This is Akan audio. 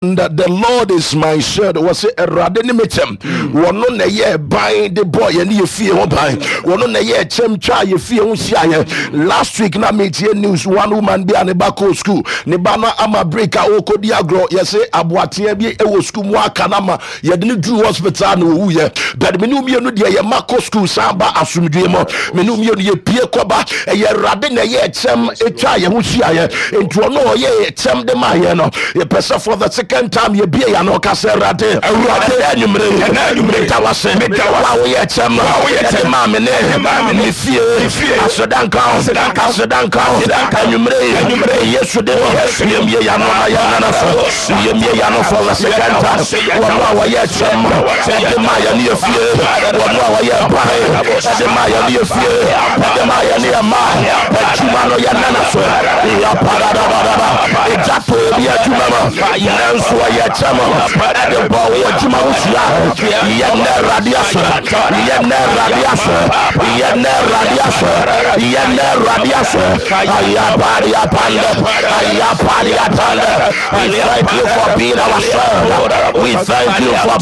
That the Lord is my shield. Wɔsɛ Awurade ne me kyɛm. Wɔno na ɛyɛ ban de bɔ yɛn ne yɛ fie ho ban. Wɔno na ɛyɛ kyɛm twa yɛ fie ho hyiaeɛ. Last week na metie news, one woman bi a ne ba kɔɔ school. Ne ba no ama break a ɔrekɔdi agorɔ. Yɛsɛ aboateɛ bi wɔ school mu aka no ama yɛde no duru hospital na ɔwuiɛ. But me ne mmienu deɛ, yɛ ma kɔ school san ba asomdwoe mu. Me ne mmienu yɛpie kɔba. Ɛyɛ Awurade na ɛyɛ kyɛm twa yɛn ho hyiaeɛ. Nti ɔno ɔyɛ kyɛm de ma yɛn no, yɛpɛ sɛ for the second time yɛbie yɛn ano ka sɛ, Awurade, Awurade, ɛnɛ anwummere yi, ɛnɛ anwummere yi, meda wo ase. Meda wo ase. Wo a woyɛ kyɛm Wo a woyɛ ɛde kyɛm maa me ne ɛde maa me ne me fie. Me fie. Aseda nka wo. Aseda nka wo. Aseda nka wo. Aseda nka wo. Anwummere yi, Anwummere yi, Yesu de Yesu de yɛmmie yɛn ano na yɛnna no so. Yɛmmie yɛn ano for the second time. Wɔn a wɔyɛ kyɛm ɛde maa yɛn ne yɛ fie, wɔn a wɔyɛ ban ɛde maa yɛn ne yɛ fie, ɛde maa yɛn ne yɛ mma adwuma no, yɛnna no so. Yɛpadadabadaba ɛgya to obi adwuma mu, nanso ɔyɛ kyɛm ɛde bɔ wo adwuma ho hyia. Yɛnnɛ Awurade ase, yɛnnɛ Awurade ase, yɛnnɛ Awurade ase, yɛnnɛ Awurade ase. Ayapariapande, ayapariapande. We thank you for being our shield. We thank you for